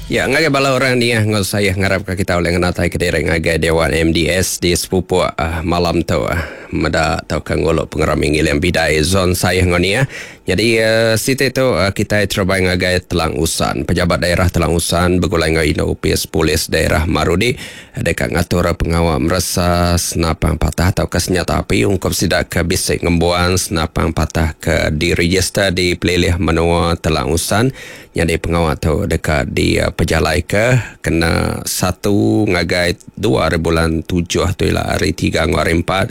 Ya, ngagai bala orang Niah enggau Sayah ngarapka kita ulih ngenataika diri ngagai Dewan MDS di Sepupuk malam tu meda tauka ngulu pengerami ngiling bidai Zon Sayah enggau Niah. Nyadi siti tu kitai terebai ngagai Telang Usan. Pejabat Daerah Telang Usan begulai enggau Indu Opis Polis Daerah Marudi deka ngatur pengawa meresa senapang patah tauka senyata api ungkup sida ke bisi ngembuan senapang patah ke direjister di pelilih menua Telang Usan. Nyadi pengawa tu deka dipejalaika kena satu ngagai dua ari bulan tujuh tu ila hari tiga enggau hari empat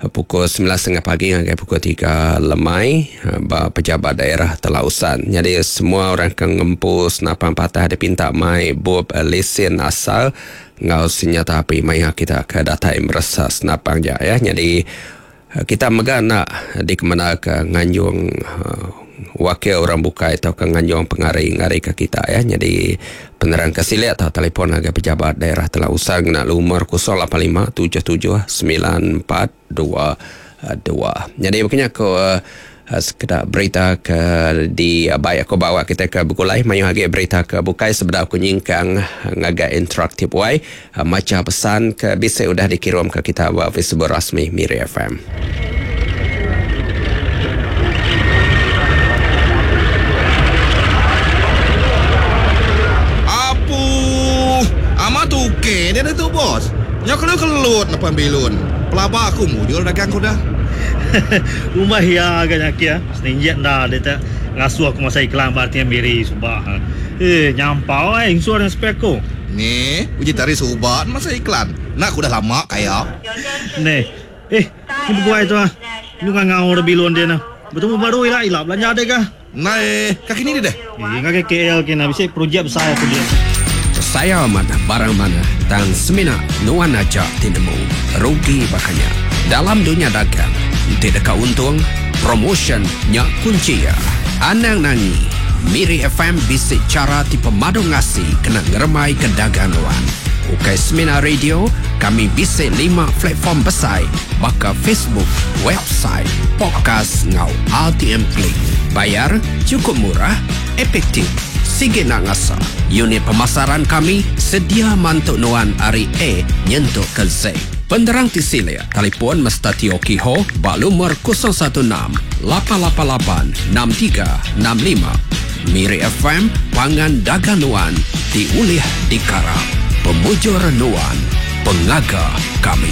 pukul semilan setengah pagi ngagai pukul tiga lemai ba pejabat daerah Telausan. Nyadi semua orang ke ngempu senapang patah dipinta mai bup lesen asal enggau senyata api maya kita ke datai meresa senapang ja ya. Nyadi Kita mega enda dikemendarka nganjung wakil orang bukai tauka nganjung pengari ngarika kita iya. Nyadi penerang ke silik tau telefon ngagai pejabat daerah Telang Usan ngena lumur 085 77 94 22. Nyadi baka nya ku Sekeda berita ke dibai aku ba awak kitai ke begulai mayuh agi berita ke bukai sebedau aku nyingkang ngagai interaktif wai macha pesan ke bisi udah dikirumka kita ba Facebook rasmi Miri FM. Apu! Amat ok dia ditu bos. Nyau kelut-kelut nepan bilun. Pelaba aku mujur dagang ku dah. Umbah iya ga nya kia, seninjik enda deh te ngasuh aku masa iklan ba RTM Miri suba. Eh nyampau ai insur nya spek ku. Ni, uji tari suba ne masa iklan. Enda ku udah lama kaya. Neh. Eh, ni beguai tu ah. Nyu ngangau da bilun din ah. Betemu baru ila ila belanja deh ga. Ndai ka kini deh. Eh ngagai KL kina bisi projek besai aku din. Sayau amat barang manah tang semina nuan aja ti nemu rugi baka nya. Dalam dunya dagang, enti deka untung, promotion nya kunchi iya. Anang nangi, Miri FM bisi chara ti pemadu ngasi kena ngerembaika dagang nuan. Ukai semina radio, kami bisi lima platform besai baka Facebook, website, podcast enggau RTM Click. Bayar chukup murah, efektif, sigi enda ngasa. Unit pemasaran kami sedia mantu nuan ari A nyentuk ke Z. Penerang ti silik, telefon Mister Teo Kee Ho ba lumur 016 888 6365. Miri FM pangan dagang nuan ti ulih dikarap. Pemujur nuan, pengaga kami.